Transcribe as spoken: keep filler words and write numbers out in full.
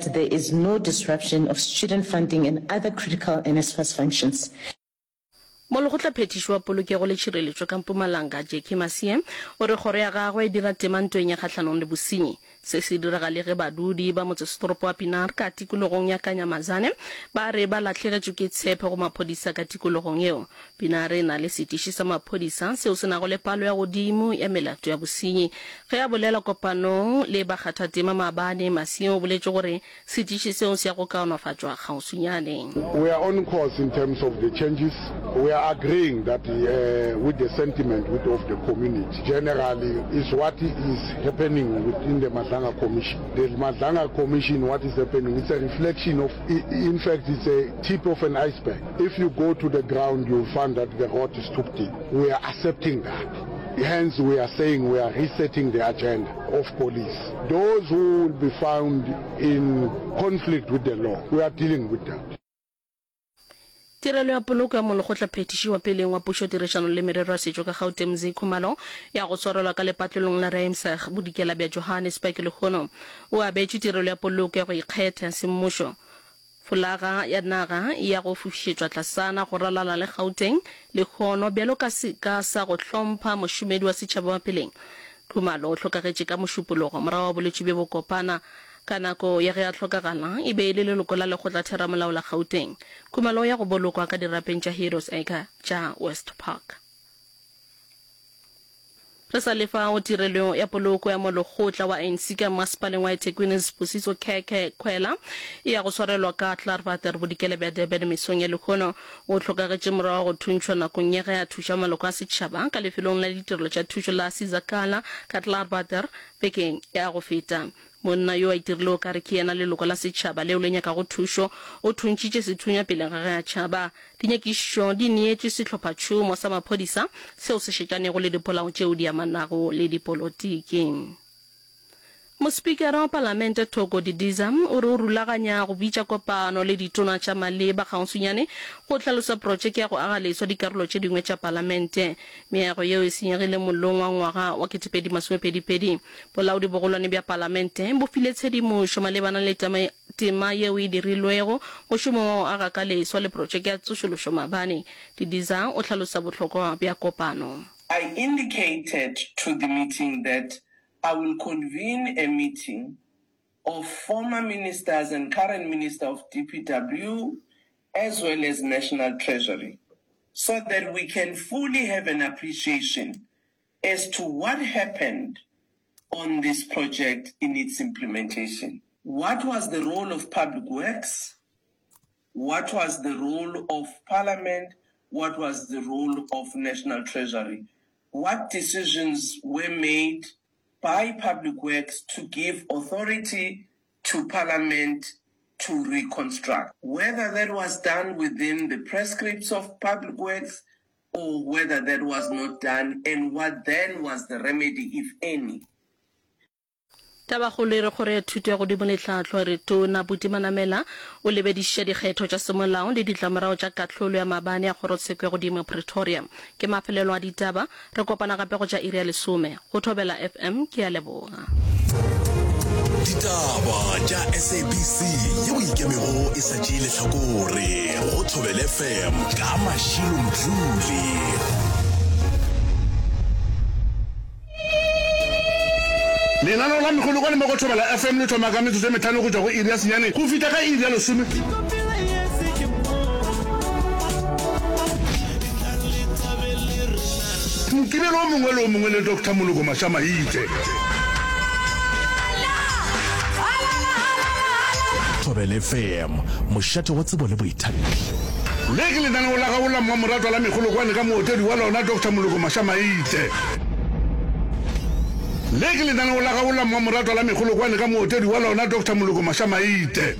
that there is no disruption of student funding and other critical NSFAS functions. Molekgotlaphethiši wa Polokego le Tšhireletšo ka Mpumalanga, Jackie Masie, o re kgoro ya gagwe e dira tema ntweng ya kgahlanong le bosenyi. Se se direga le ge badudi ba motsesetoropo wa Pienaar ka tikologong ya Kanyamazane ba re ba lahlegetšwe ke tshepo go maphodisa ka tikologong yeo. Pienaar e na le setiši sa maphodisa seo se nago le palo ya godimo ya melato ya bosenyi. Ge a bolela kopanong le bakgathatema maabane, Masie o boletše gore setiši seo se ya go kaonafatšwa kgauswinyane. We are on course in terms of the changes. We are agreeing that uh, with the sentiment with of the community generally is what is happening within the Madlanga Commission. The Madlanga Commission, what is happening, it's a reflection of, in fact, it's a tip of an iceberg. If you go to the ground, you'll find that the rot is too deep. We are accepting that. Hence, we are saying we are resetting the agenda of police. Those who will be found in conflict with the law, we are dealing with that. Tirelo ya poloko ya Molekgotlaphethiši wa peleng wa Pušo Tirišano le Merero ya Setšo ka Gauteng Mzee Khumalo ya go swarelwa ka lepatlelong la Ruimsig bodikela bja Johannesburg lehono o abetšwe tirelo ya poloko ya go ikgetha ya semmušo. Folaga ya naga ya go fofišetšwa tlasana go ralala le Gauteng lehono bjalo ka seka sa go hlompha mošomedi wa setšhaba wa peleng. Khumalo o hlokagetše ka Mošupologo morago ga bolwetši bjo bokopana. Ka nako ya ge a hlokagala, e be e le leloko la Lekgotlatheramolao la Gauteng. Khumalo o ya go bolokwa ka dirapeng tša Heroes Acre tša West Park. Re sa le fao, tirelo ya poloko ya molekgotla wa A N C ka Mmasepaleng wa eThekwini Sibusiso Khekhe Khwela e ya go swarelwa ka Klaarwater bodikela bja Durban mesong ya lehono. O hlokagetše morago ga go thuntšhwa nakong ya ge a thuša maloko a setšhaba ka lefelong la ditirelo tša thušo la Sizakala ka Klaarwater bekeng ya go feta. Monna yo a itirile o ka re ke yena leloko la setšhaba leo le nyakago thušo o thuntšitše sethunya pele ga ge a tšhaba. Dinyakišišo di neetšwe sehlophatšhomo sa maphodisa seo se šetšanego le dipolao tšeo di amanago le dipolotiki. Mospikara wa Palamente Thoko Didiza o re o rulaganya go bitša kopano le ditona tša maleba kgauswinyane go hlalosa protšeke ya go aga leswa dikarolo tše dingwe tša Palamente. Meago yeo e senyegile mollong wa ngwaga wa ketepedi masomepedi pedi. Bolaodi bogolwane bja Palamente bo file tshedimošo malebana le tema yeo e dirilwego mošomong wa go aga ka leswa le protšeke ya tsošološo maabane. Didiza o hlalosa bohlokwa bja kopano. I indicated to the meeting that I will convene a meeting of former ministers and current minister of D P W as well as National Treasury so that we can fully have an appreciation as to what happened on this project in its implementation. What was the role of Public Works? What was the role of Parliament? What was the role of National Treasury? What decisions were made by Public Works to give authority to Parliament to reconstruct? Whether that was done within the prescripts of Public Works or whether that was not done, and what then was the remedy, if any. Tabakgolo e re Kgoro ya Thuto ya Godimo le Tlhahlo e re Tona Buti Manamela o lebedišiša dikgetho tša semolao le ditlamorago tša kahlolo ya maabane ya Kgorotsheko ya Godimo ya Pretoria. Ke mafelelo a ditaba. Re kopana gape go tša iri ya lesome. Go Thobela F M ke a leboga. Ditaba tša S A B C yeo e ikemego e sa tšee lehlakore go Thobela F M ka Mashilo Mdluli. Lenaneo la Megolokwane mo go Thobela F M le thoma ka metsotso e mehlano go tšwa go iri ya senyane go fihla ka iri ya lesome. Mokibelo o mongwe le o mongwe le Doctor Moloko Mašamaite. Thobela F M, mošate wa tsebo le boithabišo. Le ke lenaneo la gago la mmamoratwa la Megolokwane ka mootedi wa lona Doctor Moloko Mašamaite. Le ke lenaneo la gago la mmamoratwa la Megolokwane ka mootedi wa lona Doctor Moloko Mašamaite.